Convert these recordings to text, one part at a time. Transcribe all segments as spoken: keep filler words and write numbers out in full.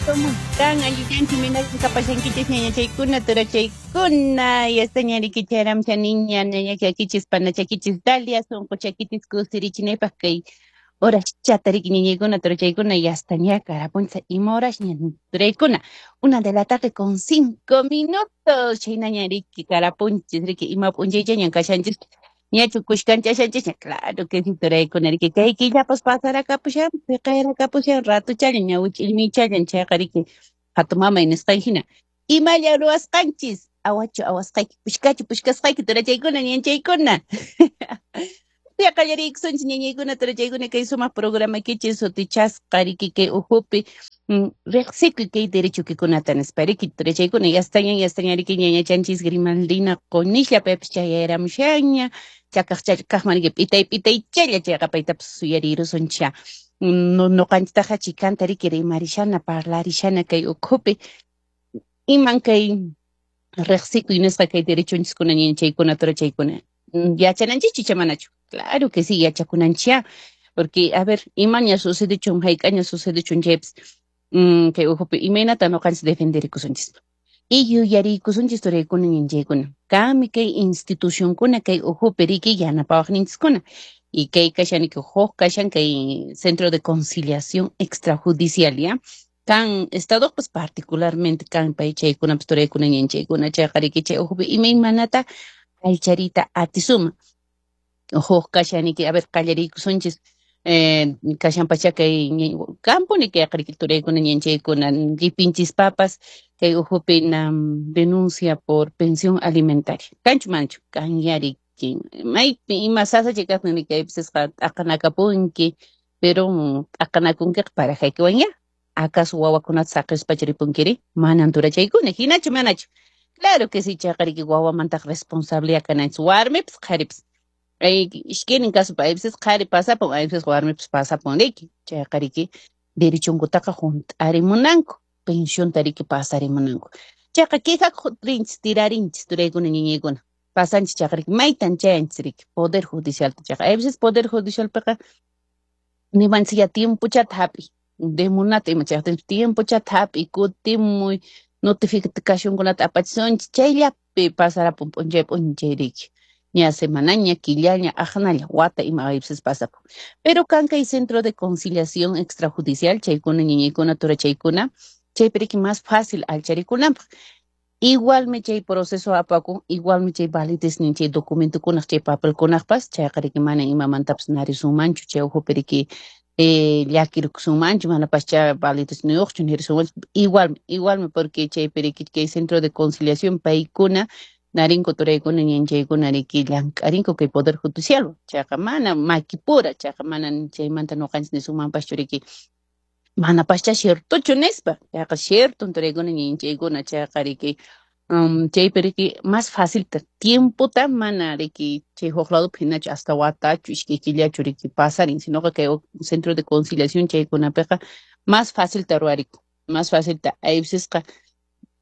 ¿Cómo están? Allillanchu kapashankichis ñañachaykuna, turachaykuna, yastaña rikicharamcha niña, ñañachakichis, panachakichis, Dalia, sunquchakichis, kusirichinaypaq kay horaschata riki ñañaykuna, turachaykuna, yastaña karapuncha ima horasña turaykuna. Una de la tarde con cinco minutos, chaynaña riki karapunchis, riki ima p'unchaychañan kashanchis. Ñachu kushkanchashanchisña, claro que sí, turaykuna riki kay killapas pasarakapusan, piqayrakapusan, ratuchallan, ñawich'illmichallan, chayqa riki hatumamay nisqan hina. Imalla ruwasqanchis, awachu awasqayki, pushkachu pushkasqayki, turachaykuna, ñanchaykuna. Ya qallariykusunchis ñañaykuna, turachaykuna, kay sumaq programaykichis sutichasqa riki kay uhupi riqsikuy kay derechoykikunata nispa riki turachaykuna, yastaña yastaña riki ñañachanchis Grimaldina Qunishlla paypis chayayramushanña, chakaq chakaqman riki p'itay p'itaychalla chayqa paytapas suyarirusuncha. Nuqanchiktaqa chikanta riki rimarishana parlarishana kay ukhupi iman kay riqsikuy nisqa kay derechonchiskuna ñañachaykuna turachaykuna yachananchikchu icha manachu? Claro que sí, yachakunanchikya, porque a ver, imaña sucedechun hayk'aña sucedechun chaypis kay ukhupi imaynata nuqanchis defenderikusunchis. Y yuyariykusunchis turaykuna ñanchaykuna, kanmi kay institucionkuna kay ukhupi riki yanapawaqninchiskuna. Y kay kashan huk kashan kay Centro de Conciliación Extrajudicial, ¿ya? Kan estadopas particularmente kan pay chaykunapas turaykuna ñanchaykuna chayqa riki chay ukhupi imaymanata allcharita atisuma. Huk kashaniki, a ver, qallariykusunchis eh, kashanpacha kay kampuni kay riki turaykuna ñanchaykuna llipinchispapas kay ukhupi na denuncia por pensión alimentaria. Kanchu manachu? Kanya riki. Maypi ima sasachay kaqtin riki kaypisqa t'aqanakapunki, pero t'aqanakunkiqa parajaykiwanya. ¿Acaso wawakunata saqispacha ripunkiri? Manan turachaykuna, hinachu manachu? Claro que sí, chayqa riki wawamantaq responsabilidad kananchis, warmipas qharipas. Ay, ishkaynin caso aypisis qhari pasapun, aypisis warmipas pasapun riki. Chayqa riki derechonkutaqa hunt'arimunanku, pensionta riki pasarimunanku. Chayqa quejakuq rinchis, tirarinchis turaykuna ñañaykuna. Pasanchis chayqa riki maytan chayanchis riki poder judicialta chayqa. Aypisis poder judicialpiqa nimanchis ya tiempochata hap'iy, demunata ima chayqa tiempochata hap'iy, kutimuy, notificacionkunata apachisunchis, chayllapi pasarapun p'unchay p'unchay riki. Ña semanaña, killaña, aqnalla, wata ima aypisis pasapun. Pero kan kay Centro de Conciliación Extrajudicial, chaykuna ñañaykuna turachaykuna, chaypi riki más fácil allcharikunanpaq. Igualmi chay proceso apakun, igualmi chay valideznin chay documentokunaq, chay papelkunaqpas, chayqa riki mana imamantapas narisunmanchu, chay ukhupi riki eh, llakirikusunmanchu, manapascha validezniyuqchu nirisunmanchu, igualmi, igualmi porque chaypi riki kay Centro de Conciliación paykuna narinku turaykuna ñanchaykuna riki llank'arinku kay Poder Judicial, chayqa mana makipura, chayqa mana chaymanta nuqanchis nisunmanpaschu riki manapascha ciertochu nispa, chayqa cierto turaykuna ñanchaykuna chayqa riki um, chaypi riki más facilta tiempota mana riki chay huk ladopi hinachu hasta watachu iskay killachu riki pasarin, sinoqa kay Centro de Conciliación chaykunapiqa más facilta ruwarikun, más facilta aypisisqa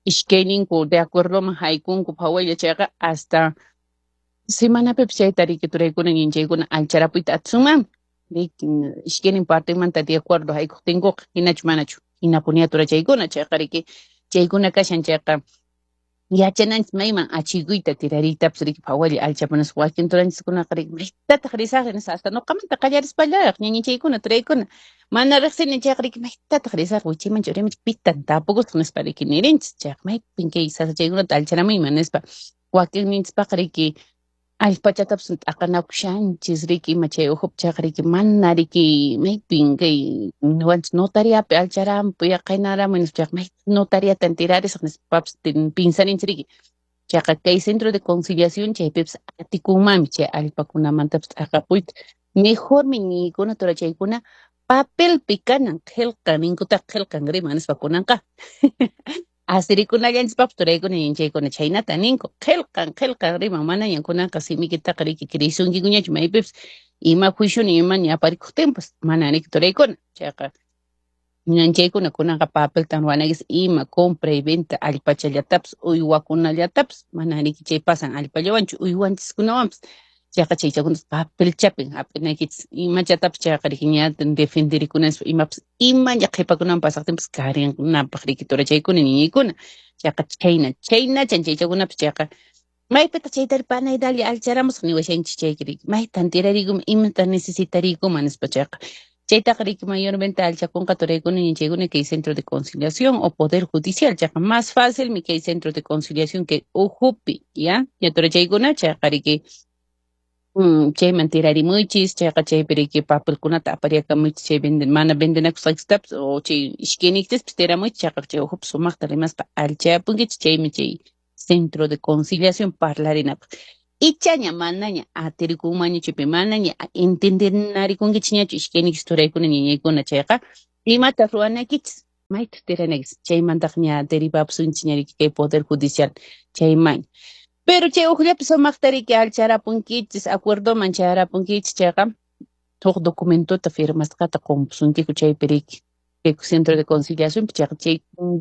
iskayninku de acuerdoman haykunku phawaylla chayqa hasta semanapipis chayta riki turaykuna ñanchaykuna allcharapuyta atisunmanmi. Riki iskaynin partemanta de acuerdo haykuqtinkuqa hinachu manachu hinapuniya turachaykuna chayqa riki chaykuna kashan chayqa yachananchis mayman achikuyta tirariytapas riki phawaylla allchapunas wakin turanchiskunaqa riki maytataq risaqri nispa hasta nuqamanta qallarispallaraq ñañachaykuna turaykuna mana riqsini chayqa riki maytataq risaqri wichaymanchu uraymanchu pitan tapukusaq nispa riki nirinchis chayqa maypin kay sasachaykunata allcharamuyman nispa wakinninchispaq riki allpachatapas t'aqanakushanchis riki ima chay ukhupi chayqa riki mana riki maypin kay niwanchis notariapi allcharampuy qaynaramuy nispa chayqa may notariatan tirarisaq nispapas pinsarinchis riki chayqa kay Centro de Conciliación chaypipas atikunmanmi chay allpakunamantapas t'aqapuyta mejormi ñiykuna turachaykuna papelpi kanan qillqa ninkutaq qillqan rima nispa kunanqa asirikunallanchispaqpas turaykuna ñanchaykuna chhaynata ninku qillqan qillqan riman manañan kunanqa simikitaqa riki kriysunkikuñachu maypipas ima juicioni imaña aparikuqtinpas mana riki turaykuna chayqa ñanchaykuna kunanqa papeltan ruwanaykichis ima compra y venta allpachallatapas uywakunallatapas mana riki chay pasan allpallawanchu uywanchiskunawanpas Chayqa chaychakuna papelchapin hap'inaykichis imachatapas chayqa riki ña defenderikunas imapas imaña qhipakunaman pasaqtinpas karinapaq riki turachaykuna ñañaykuna chayqa chhayna chhaynachan chaychakunapas chayqa maypitaq chaytari panay Dalia alcharamusaq niwashanchis chayki riki maytan tirariykuman imata necesitariykuman nispa chayqa chaytaqa riki mayormente alchakunqa turaykuna ñañachaykuna kay centro de conciliación o poder judicial chayqa más fácilmi kay centro de conciliación kay uhupi ya ya turachaykuna chayqa riki Mm, chayman tirarimuychis chayqa chaypi riki papelkunata apariakamuychis chay venden mana vendenakusqaykistapas o chay ishkayniykichispas tiramuychis chayqa chay uhupi sumaqta rimaspa alchayapunkichis chaymi chay centro de conciliación parlarinapaq ichaña manaña atirikunmanñachu chaypi manaña entendenarikunkichikñachu ishkayniykichis turaykuna ñañaykuna chayqa imata ruwanaykichis mayta tiranaykichis chaymantaqa ña derivapusunchis ña riki kay poder judicial chayman pero chay uqllapi sumaqta riki alcharapunkichis acuerdoman chayarapunkichis chayqa huk documentota firmasqata qumpusunkiku chaypi riki kay centro de conciliación chayqa chay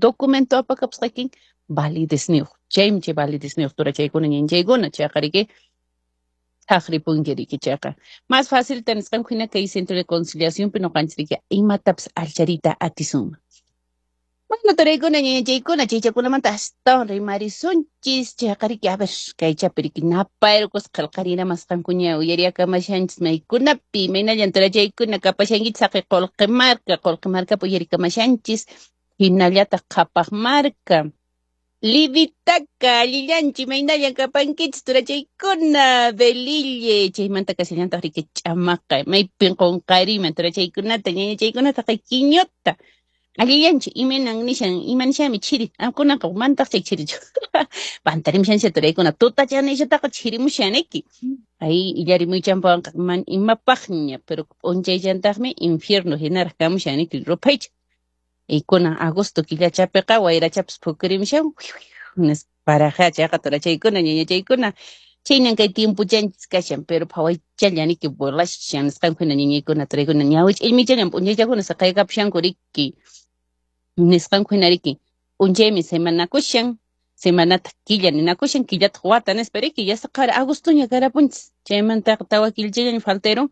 documento apakapusqaykin validezniyuq chaymi chay validezniyuq turachaykuna ñañachaykuna chayqa riki thaqripunki riki chayqa más facilta nisqanku hina kay centro de conciliacionpi ñuqanchis riki imatapas alchariyta atisunman. Bueno, turaykuna ñañachaykuna chaychakunamanta astawan rimarisunchis chayqa riki a ver kaychapi riki napayrukusqa qillqarinamasqankuña uyariyakamashanchis maykunapi imaynallan turachaykuna kapashankichis haqay qullqi marka qullqi markapi uyarikamashanchis hinallataq qhapaq marka Livitaka allillanchi imaynallan kapankichis turachaykuna Velille chaymanta kashallantaq riki ch'amaqa maypin qunqariman turachaykunata ñañachaykunata qay kiñuta allillanchi imaynan nishan ima nishanmi chiri kunanqa mantaq chay chirichu pantarimushanchis turaykuna tutacha nishataqa chirimushaniki ay illarimuychanpawanqa man imapaqña pero p'unchayllantaqmi infierno hinaraq kamushaniki ruphaycha y kunan agosto killachapiqa wayrachapas phukurimushan nispa paraja chayqa turachaykuna ñañachaykuna chaynan kay tiempuchanchis kashan pero phawaychalla niki volashan nisqanku hina ñañaykuna turaykuna ñawi ch'illmichallan p'unchaychakuna saqaykapushanku riki nisqanku hina riki p'unchaymi semanakushan semanataq killa ninakushan killataq wata nispa riki yasaqara agostoña karapunchis chaymantaqa tawa killachallaña falterun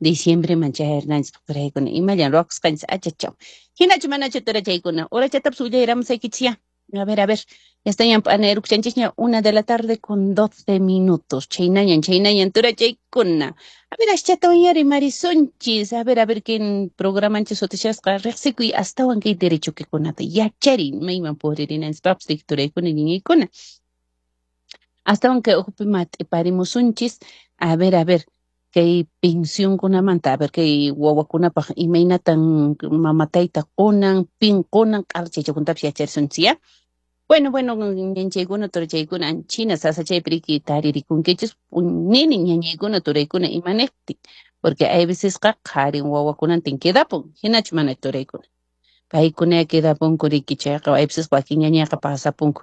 diciembreman chayarnanchispaq turaykuna imallan ruwakusqanchis achachaw hinachu manachu turachaykuna horachatapas willayramusaykichis ya a ver a ver ya estañan p'anayrukushanchisña una de la tarde con doce minutos chhaynañan chhaynañan turachaykuna a ver aschatawan ya rimarisunchis a ver a ver kin programanchis sutishasqa riqsikuy astawan kay derechokikunata yachariy mayman puririnanchispaqpas turaykuna ñañaykuna astawan kay uhupi mat'iparimusunchis a ver a ver kay pensionkunamanta a ver kay wawakunapaq imaynatan mama tayta qunan pin qunan q'ala chaychakunatapas yacharisunchis ya bueno bueno ñañachaykuna turachaykuna anchina sasachaypi riki taririkunkichis nini ñañaykuna turaykuna imaniptin porque hay vecesqa qharin wawakunantin quedapun hinachu mana turaykuna paykuna quedapunku riki chayqa hay veces wakin ñañayqa pasapunku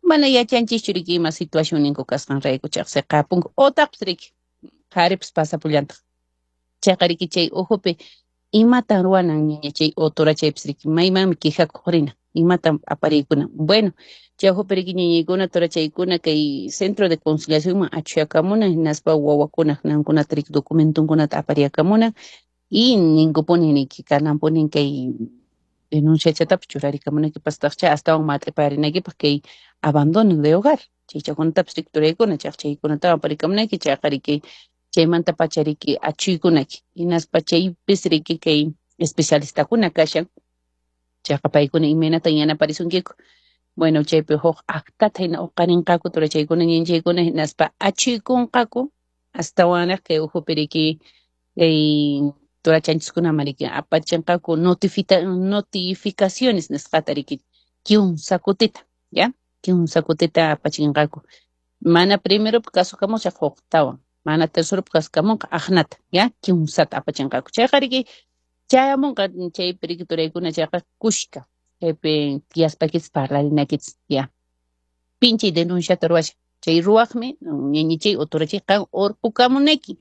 mana yachanchischu riki ima situacionninku kasqanrayku chayqa siqapunku otaqpas riki qharipas pasapullantaq chayqa riki chay uhupi imatan ruwanan ñaña chay o turachaypas riki maymanmi quejakuq rina imatan apariykuna bueno chay uhupi riki ñañaykuna turachaykuna kay centro de conciliacionman achuyakamunan hinaspa wawakunaq nankunata riki documentunkunata apariakamunan y ninkupuni niki kananpuni kay denunciachatapas churarikamunaykipastaqcha astawan mat'iparinaykipaq kay abandono de hogar chaychakunatapas riki turaykuna chayqa chaykunatawan aparikamunayki chayqa riki chaymanta pacha riki achuykunayki hinaspa chaypis riki kay especialistakuna kashan chayqa paykuna imaynatan yanaparisunkiku bueno chaypi huk actata hina uqarinqaku turachaykuna ñañachaykuna hinaspa achuykunqaku astawanraq kay uhupi riki kay turachanchiskunaman riki apachinqaku notifita notificaciones nisqata riki kimsa kutita ya kimsa kutita apachinqaku mana primeropi kasukamusaq huktawan mana terceropi kasukamunqa aqnata ya kimsata apachinqaku chayqa riki chayamunqa chaypi riki turaykuna chayqa kushka chaypi tiyaspakichis parlarinaykichis ya pinchay denunciata ruwashan chay ruwaqmi ñañichay o turachay qan urqukamunayki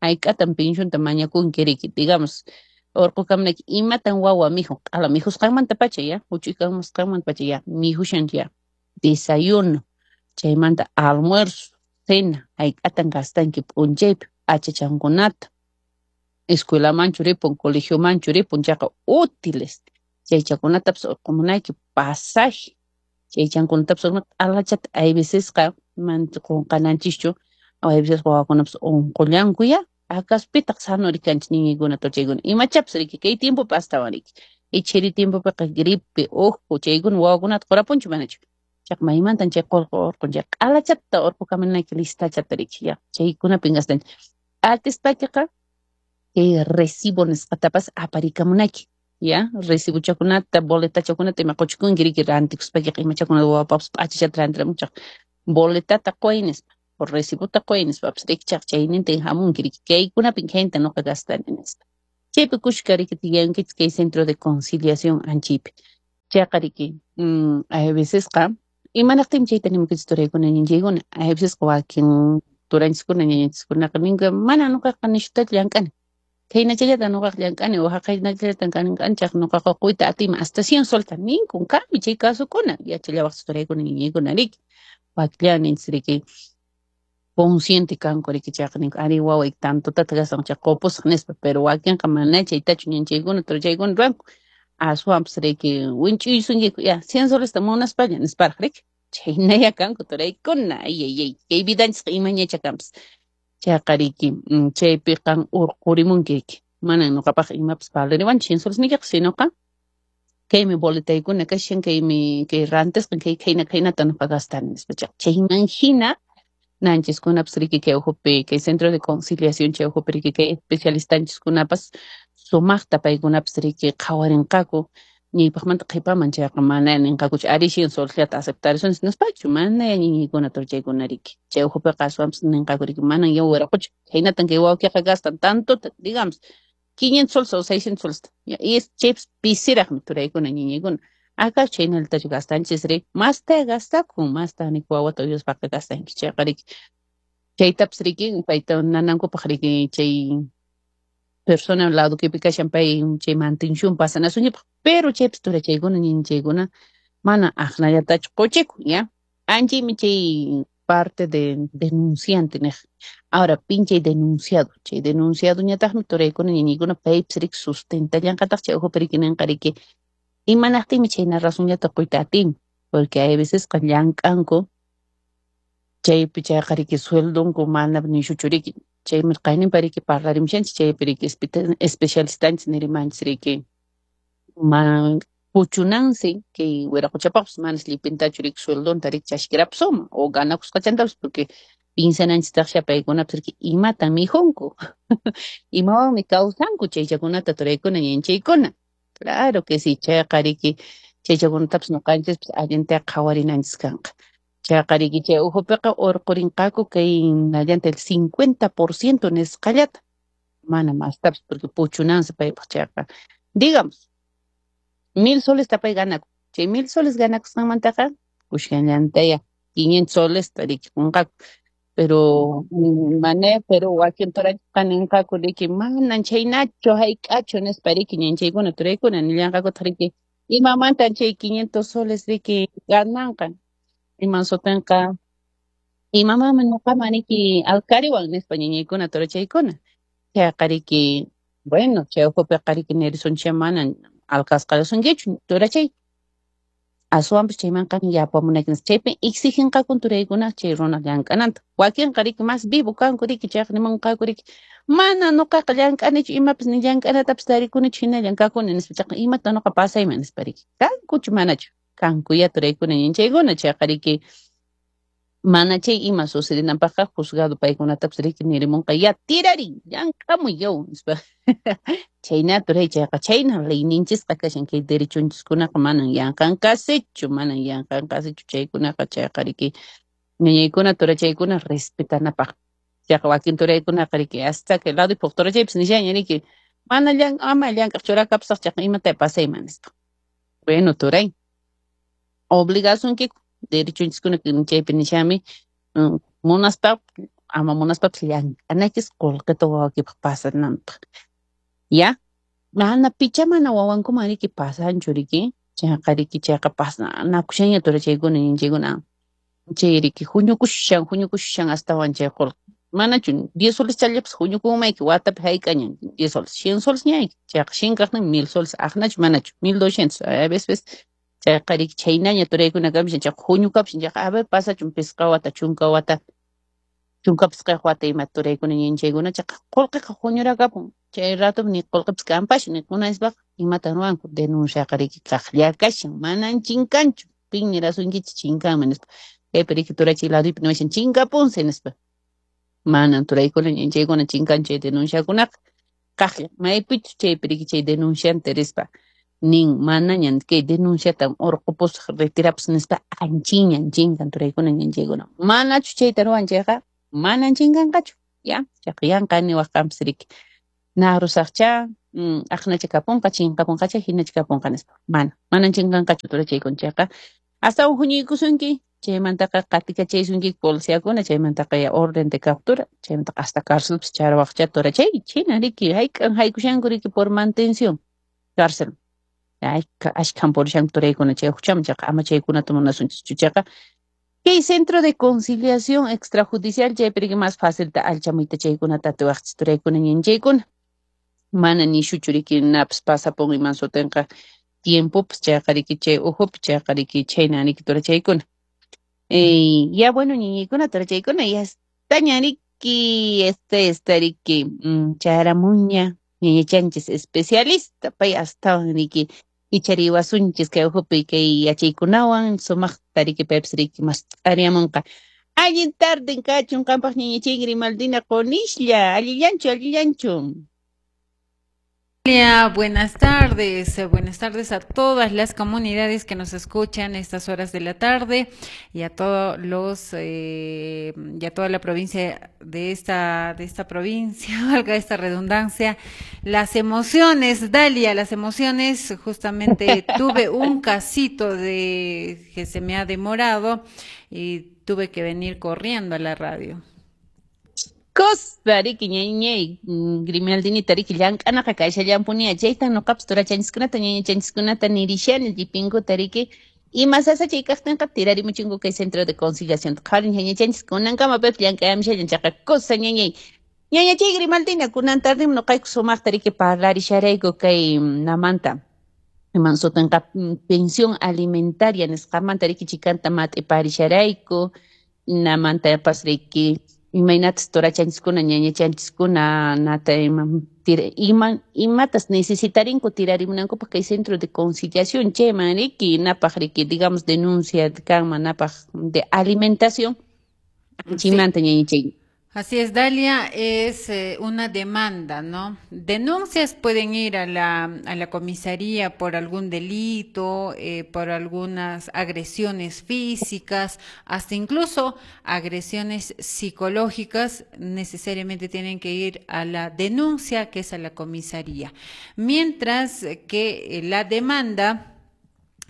hayk'atan pensionta mañakunki riki digamos urqukamunayki imatan wawa mikhun q'ala mikhusqanmanta pacha ya huch'uy kamusqanmanta pacha ya mikhushan ya desayuno chaymanta almuerzo Cena, hayk'atan gastanki p'unchaypi p'achachankunata, escuelamanchu ripun, colegiomanchu ripun, chayqa útiles, chaychakunatapas urqumunayki, pasaje, chaychankunatapas q'alachata hay vecesqa mana qunqananchischu, hay veces wawakunapas unqullanku ya, acaso pitaq sano rikanchis niñaykuna chaykuna imachapas riki kay tiempopi astawan riki, chiri tiempopiqa gripe, uhu chaykuna wawakunata qurapunchu manachu, chayqa maymantan chay qullqi urqun chay q'alachata urqukamunayki listachata riki ya, chaykunapin gastanchis, atispakiqa kay recibo nisqatapas aparikamunayki, ya recibochakunata boletachakunata ima quchikunki riki rantikuspakiqa imachakunata wawapapas p'achachata rantiramunchaq boletata quy nispa o recibota quy nispapas riki chayqa chaynintin hamunki riki kaykunapin khayta nuqa gastani nispa, chaypi kushka riki tiyankichis kay centro de conciliación anchaypi, chayqa riki hay vecesqa imanaqtinmi chayta nimukichis turaykuna ñañachaykuna hay vecesqa wakin turanchiskuna ñañanchiskunaqa ninku mana nuqaqa nishutachu llank'ani khaynachallata nuqaqa llank'ani o haqaynachallata llank'ani chayqa nuqaqa quyta atiyman hasta cien solta ninkun kanmi chay casokuna yachallawaqchis turaykuna ñañaykuna riki wakilla ninchis riki consciente kanku riki chayqa ninku ari waway tantotata gastan chay qupusaq nispa pero wakinqa mana chaytachu ñanchaykuna turachaykuna ruwanku aswanpas riki winch'uysunkiku ya cien solesta munaspalla nisparaq riki chhaynaya kanku turaykuna ay ay ay kay vidanchisqa imañacha kanpas chayqa riki chaypi qan urqurimunki riki manan nuqapaq imapas valeriwanchu cien soles niykiqa sinoqa kaymi boletaykuna kashan kaymi kay rantisqan kay khayna khaynata nuqa gastani nispa chayman hina nanchiskunapas riki kay ukhupi kay centro de conciliación chay ukhupi riki kay especialistanchiskunapas sumaqta paykunapas riki qhawarinqaku ñaypaqmanta qhipaman chayqa mana ninqakuchu ari cien solesllata aceptarisunchis nispachu mana ñiñaykuna turachaykuna riki chay ukhupiqa aswanpas ninqaku riki manan yaw wiraqucha khaynatan kay wawqiqa gastan tantota digamos quinientos soles o seiscientos soles y es chaypas pisiraqmi turaykuna ñiñaykuna acaso chhaynallatachu gastanchis ri masta gastakun masta nik wawata uywaspaqa gastanki chayqa riki chaytapas riki payta nanankupaq riki chay persona ladokipi kashan pay chay mantención pasanasunchikpaq pero chaypas turachaykuna ñiñachaykuna mana aqnallatachu quchikun ya anchaymi chay parte de denunciante niq ahora pin chay denunciado chay denunciado ñataqmi turaykuna ñiñaykuna paypas riki sustentallanqataq chay ukhupi riki ninqa riki imanaqtinmi chayna razonllata quyta atin porque hay vecesqa llank'anku chaypi chayqa riki sueldonku mana nishuchu riki chaymi qayninpa riki parlarimushanchis chaypi riki especialistanchis nirimanchis riki ma puchunansi kay wiraquchapaqpas manas llipintachu riki sueldonta riki chashkirapusuma o ganakusqachantapas porque pinsananchistaqsha paykunapas riki imatan mikhunku imawanmi kawsanku chaychakunata turaykuna ñanchaykuna claro que sí chayqa riki chaychakunatapas nuqanchispas allinta qhawarinanchis kanqa chayqa riki chay ukhupiqa urqurinqaku kay nallanta el cincuenta por ciento nisqallata mana mastapas porque puchunansi paypaq chayqa digamos mil solesta pay ganakun chay mil soles ganakusqanmantaqa kushkanllantaya quinientos solesta riki qunqaku pero mana pero wakin turanchisqa ninqaku riki manan chhaynachu hayk'achu nispa riki ñanchaykuna turaykuna nillanqakutaq riki imamantan chay quinientos soles riki gananqa iman sutinqa imamanmi nuqaman riki alkariwan nispa ñañaykuna turachaykuna chayqa riki bueno chay ukhupiqa riki nirisunchis manan alkasqarisunkichu turachay aswanpas chaymanqa yapamunayki chaypi exiginqakun turaykuna chay runa llank'ananta wakinqa riki mas vivo kanku riki chayqa nimunqaku riki mana nuqaqa llank'anichu imapas ni llank'anatapas tarikunichu hinallan kakuni nispa chayqa imata nuqa pasayman nispa riki kankuchu manachu kankuya turaykuna ñanchaykuna chayqa riki mana chay ima sucedinanpaqqa juzgado paykunatapas riki nirimunqa ya tirarin llank'amuy yaw nispa chayna turay chayqa chayna leyninchisqa kashan kay derechonchiskunaqa manan yanqan kasichu manan yanqan kasichu chaykunaqa chayqa riki ñañaykuna turachaykuna respetanapaq chayqa wakin turaykunaqa riki hasta que lado turachaypas nishaña riki mana llan ama llank'aq churakapusaq chayqa imata pasayman nispa bueno turay obligasunkiku derechonchiskuna chaypi nishami munaspa ama munaspapas llank'anachis qullqita wawakipaq pasananpaq ya mana picha mana wawankuman riki pasanchu riki chayqa riki chayqa pasanakushaña turachaykuna ñanchaykuna Chay riki huñukushan huñukushan astawan chay qullqi. Manachu diez soles challapas huñukunmayki watapi hayk'aña diez soles, cien soles ñayki. Chayqa shinkaqnin mil soles aqnachu manachu mil doscientos a veces chayqa riki chhaynaña turaykuna kamishan chayqa huñukapushan chayqa a ver pasachun pisqa wata chunka wata chunka pisqayuq wata ima turaykuna ñinchaykuna chayqa qullqiqa huñurakapun chay rato ni qullqipas kanpaschu ni kunaspaqa imatan ruwanku denunciaqa riki kaqlla kashan manan chinkanchu pin nirasunkichis chinkanman nispa kaypi riki turachay laduypi niwashan chinkapunsi nispa manan turaykuna ñinchaykuna chinkanchu chay denunciakunaqa kaqlla maypichus chaypi riki chay denunciante rispa nin manañan kay denunciata urqupusaq retirapus nispa anchiñan chinkan turaykuna ñinchaykuna manachu chayta ruwan chayqa manan chinkanqachu ya chayqa yanqa niwaq qanpis riki nahrusaqcha aqnacha kapunqa chinkapunqacha hinacha kapunqa nispa mana manan chinkanqachu turachaykuna chayqa astawan huñuykusunki chaymantaqa qatikachaysunki policiakuna chaymantaqa ya orden de captura chaymantaqa hasta cárcelpis charawaqcha turachay chhina riki hayk'an haykushanku riki por mantención cárcel ashkhan purishanku turaykuna chay huchaman chayqa ama chaykunata munasunchikchu chayqa kay centro de conciliación extrajudicial chaypi riki más facilta allchamuyta chaykunata atiwaqchis turaykuna ñinchaykuna mana nishuchu riki napas pasapun iman sutinqa tiempopas chayqa riki chay uhupi chayqa riki chhayna riki turachaykuna. Eh, ya bueno ñiñaykuna turachaykuna ya está ña riki este está riki chayaramunña ñañachanchis especialista pay astawan riki ichariwasunchis kay uhupi kay yachaykunawan sumaqta riki paypis riki mast'ariamunqa. Allin tarden kachun qampaq ñañachay Grimaldina Qonishlla allillanchu allillanchu. Buenas tardes, buenas tardes a todas las comunidades que nos escuchan a estas horas de la tarde y a todos los eh, y a toda la provincia de esta de esta provincia, valga esta redundancia. Las emociones, Dalia, las emociones, justamente tuve un casito de que se me ha demorado y tuve que venir corriendo a la radio. Cosa riki ñañay Grimaldinita riki llank'anaqa kashallanpunia chaytan nuqapas turachanchiskunata ñañachanchiskunata nirishani llipinkuta riki ima sasachay kaqtinqa tirarimuchinku kay centro de conciliación qhawarin ñañachanchis kunankama paypas llank'ayamishallan chayqa cosa ñañay ñañachay Grimaldina kunan tardim nuqayku sumaqta riki parlarisharayku kay namanta iman sutinqa pensión alimentaria nisqamanta riki chikanta mat'iparisharayku namantapas riki imaynatas turachanchiskuna ñañachanchiskuna nata ima ima imatas necesitarinku tirarimunankupaq kay centro de conciliación chayman riki napaq riki digamos denuncia kanman napaq de alimentación chaymanta ñañachay. Así es, Dalia, es eh, una demanda, ¿no? Denuncias pueden ir a la, a la comisaría por algún delito, eh, por algunas agresiones físicas, hasta incluso agresiones psicológicas, necesariamente tienen que ir a la denuncia, que es a la comisaría. Mientras que la demanda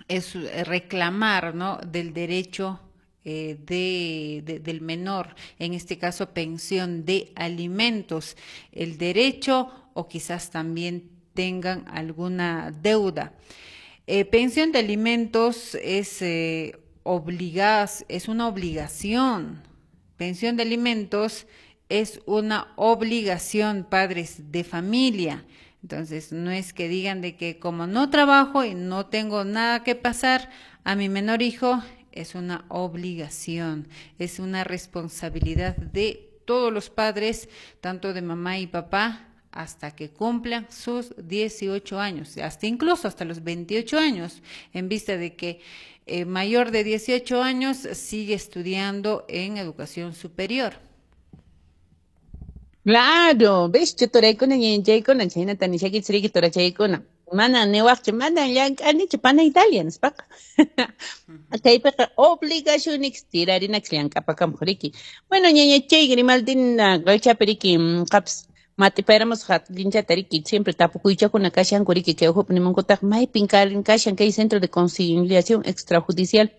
es reclamar, ¿no?, del derecho Eh, de, de, del menor, en este caso pensión de alimentos, el derecho o quizás también tengan alguna deuda. Eh, pensión de alimentos es, eh, obligas, es una obligación. Pensión de alimentos es una obligación, padres de familia. Entonces, no es que digan de que como no trabajo y no tengo nada que pasar a mi menor hijo, es una obligación, es una responsabilidad de todos los padres, tanto de mamá y papá, hasta que cumplan sus dieciocho años, hasta incluso hasta los veintiocho años, en vista de que eh, mayor de dieciocho años sigue estudiando en educación superior. Claro, ves, turaykuna ñañachaykuna, chhaynata nishaykichis riki turachaykuna. Mana niwaqchu, mana llank'anichu pana Italia nispaqa. Chaypiqa obligaciones tirarinakis llank'apakamuq riki. Bueno, ñañachay Grimaldina qaychapi riki qapas mat'ipayramusaq allinchata riki siempre tapukuychakuna kashanku riki kay uhupi nimunkutaq maypin kashan kay centro de conciliación extrajudicial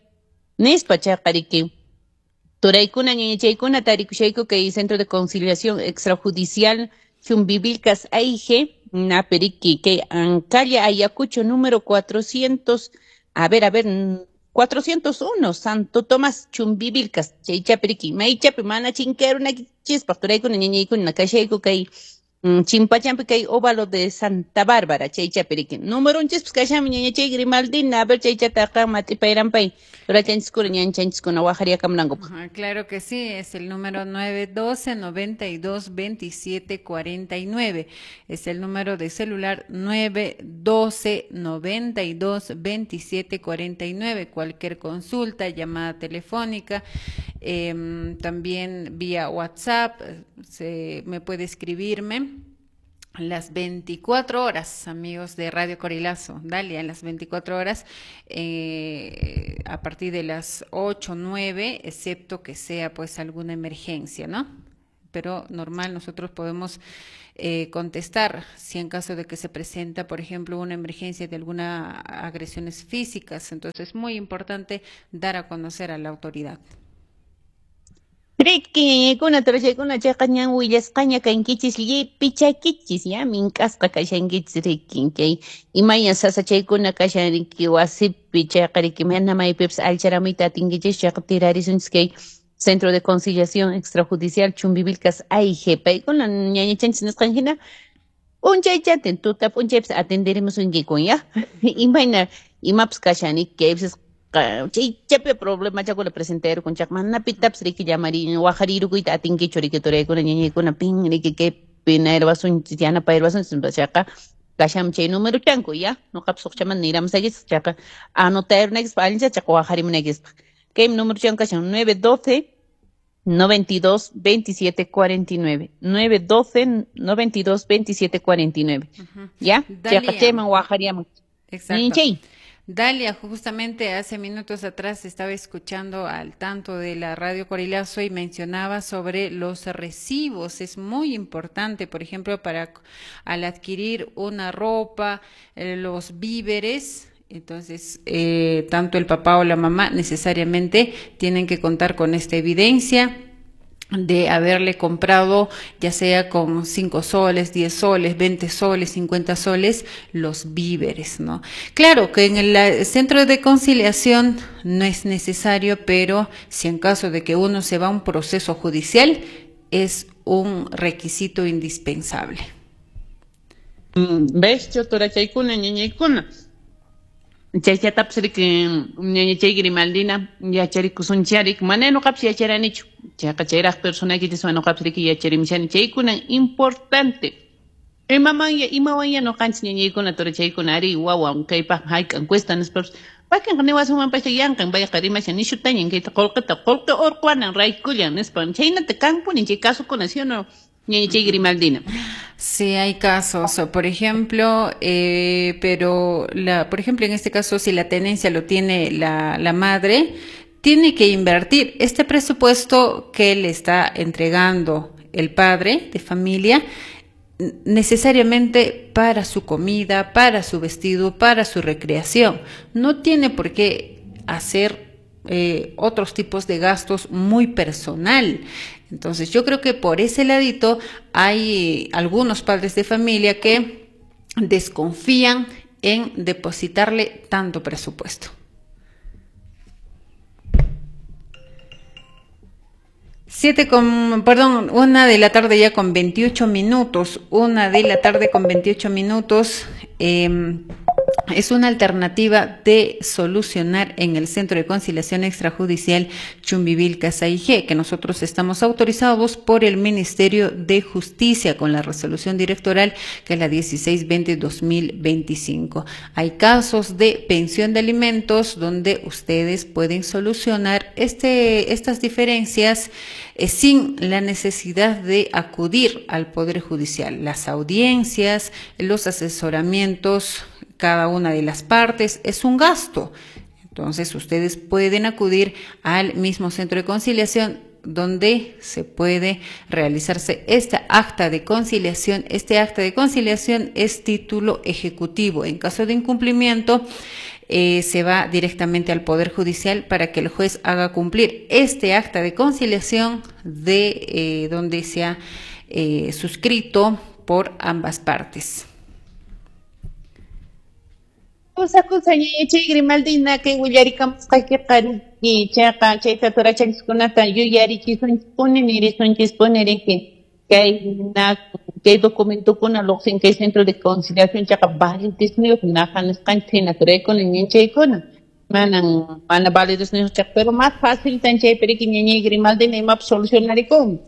nispa chayqa riki. Turaykuna ñañachaykuna tarikushayku kay centro de conciliación extrajudicial Chumbivilcas A I G naperiki kay calle Ayacucho número cuatrocientos, a ver, a ver, cuatrocientos uno, Santo Tomás, Chumbivilcas, chaychapi riki, maychapi mana chinkarunakichispaq turaykuna ñañaykuna kashayku kay chimpachampi kay óvalo de Santa Bárbara, chaychapi riki. Númeronchispas kashanmi ñañachay Grimaldina, a ver chaychataqa mat'ipayrampay, turachanchiskuna ñanchanchiskuna waqhariakamunankupaq. Claro que sí, es el número nueve doce noventa y dos veintisiete cuarenta y nueve, es el número de celular nueve doce noventa y dos veintisiete cuarenta y nueve, cualquier consulta, llamada telefónica, eh, también vía WhatsApp, se, me puede escribirme las veinticuatro horas, amigos de Radio Corilazo, dale, a las veinticuatro horas, eh, a partir de las ocho, nueve, excepto que sea pues alguna emergencia, ¿no? Pero normal nosotros podemos eh, contestar si en caso de que se presenta, por ejemplo, una emergencia de alguna agresiones físicas. Entonces es muy importante dar a conocer a la autoridad. Riki ñañaykuna turachaykuna chayqa ñan willasqaña kankichis llipichakichis ya mink'asqa kashankichis riki chay imayna sasachaykuna kashan riki wasipi chayqa riki mana maypipas allcharamuyta atinkichis chayqa tirarisunchis kay Centro de Conciliación Extrajudicial Chumbivilcas A I G paykuna ñañachanchis nisqan hina p'unchaychatin tuta p'unchaypis atenderemos unkikun ya imayna imapas kashan riki kaypis chaychapi problema chakuna presentarukun chayqa mana pitapis riki llamari waqharirukuyta atinkichu riki turaykuna ñañaykuna pin riki kaypi nayrwasunchis yanapayruwasunchis chayqa kashan chay número chanku ya nuqapis uqchaman niramusaykichis chayqa anotayrunaykispa allincha chayqa waqharimunaykispaq kay número chanku kashan nueve doce noventa y dos veintisiete cuarenta y nueve nueve doce noventa y dos veintisiete cuarenta y nueve ya chayqa chayman waqhariamun. Exacto. Dalia, justamente hace minutos atrás estaba escuchando al tanto de la Radio Corilazo y mencionaba sobre los recibos. Es muy importante, por ejemplo, para al adquirir una ropa, eh, los víveres. Entonces, eh, tanto el papá o la mamá necesariamente tienen que contar con esta evidencia de haberle comprado, ya sea con cinco soles, diez soles, veinte soles, cincuenta soles, los víveres, ¿no? Claro que en el centro de conciliación no es necesario, pero si en caso de que uno se va a un proceso judicial, es un requisito indispensable. ¿Ves? Yo torachaykuna, ñañaykuna. Chaychatapas riki ñañachay Grimaldina yacharikusuncharik mana nuqapis yacharanichu chayqa chayraq personaykichiswan nuqapis riki yacharimishani chaykuna importante imamanya imawanya nuqanchis ñañaykuna turachaykuna ari wawan kaypaq hayk'an cuesta nispapas wakinqa niwasunmanpas yanqan payqa rimashan nishutañan kayta qullqita qullqi urquwanan raykullan nispa chaynata kanpuni chay kasukuna ¿sí o no? Ñañachay Grimaldina. Sí, hay casos, por ejemplo, eh, pero la, por ejemplo, en este caso, si la tenencia lo tiene la, la madre, tiene que invertir este presupuesto que le está entregando el padre de familia necesariamente para su comida, para su vestido, para su recreación. No tiene por qué hacer eh, otros tipos de gastos muy personal. Entonces yo creo que por ese ladito hay algunos padres de familia que desconfían en depositarle tanto presupuesto. Siete con, perdón, una de la tarde ya con veintiocho minutos, una de la tarde con veintiocho minutos, eh, es una alternativa de solucionar en el Centro de Conciliación Extrajudicial Chumbivilcas A I G, que nosotros estamos autorizados por el Ministerio de Justicia con la resolución directoral que es la dieciséis veinte dos mil veinticinco. Hay casos de pensión de alimentos donde ustedes pueden solucionar este, estas diferencias eh, sin la necesidad de acudir al Poder Judicial. Las audiencias, los asesoramientos, cada una de las partes es un gasto. Entonces ustedes pueden acudir al mismo centro de conciliación donde se puede realizarse esta acta de conciliación. Este acta de conciliación es título ejecutivo. En caso de incumplimiento, eh, se va directamente al Poder Judicial para que el juez haga cumplir este acta de conciliación de, eh, donde se ha, eh, suscrito por ambas partes. Kusa kusa ñañachay Grimaldina kay willarikamusqaykiqa riki chayqa chayta turachanchikkunata yuyarichisunchispuni nirisunchispuni riki kay kay documentokuna lluqsin kay centro de conciliación chayqa validesniyuq naqa nisqanchik hina turaykuna ñanchaykuna manan mana validesniyuq chayqa pero más fácil tan chaypi riki ñañay Grimaldina imapas solucionarikun.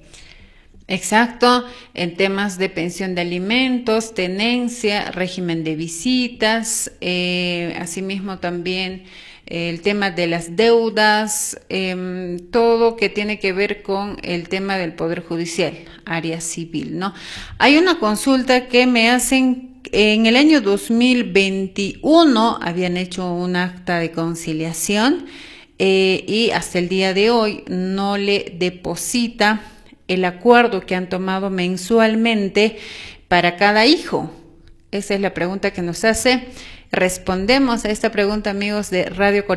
Exacto, en temas de pensión de alimentos, tenencia, régimen de visitas, eh, asimismo también eh, el tema de las deudas, eh, todo que tiene que ver con el tema del Poder Judicial, área civil, ¿no? Hay una consulta que me hacen en el año dos mil veintiuno, habían hecho un acta de conciliación eh, y hasta el día de hoy no le deposita el acuerdo que han tomado mensualmente para cada hijo. Esa es la pregunta que nos hace. Respondemos a esta pregunta, amigos de Radio Corillo.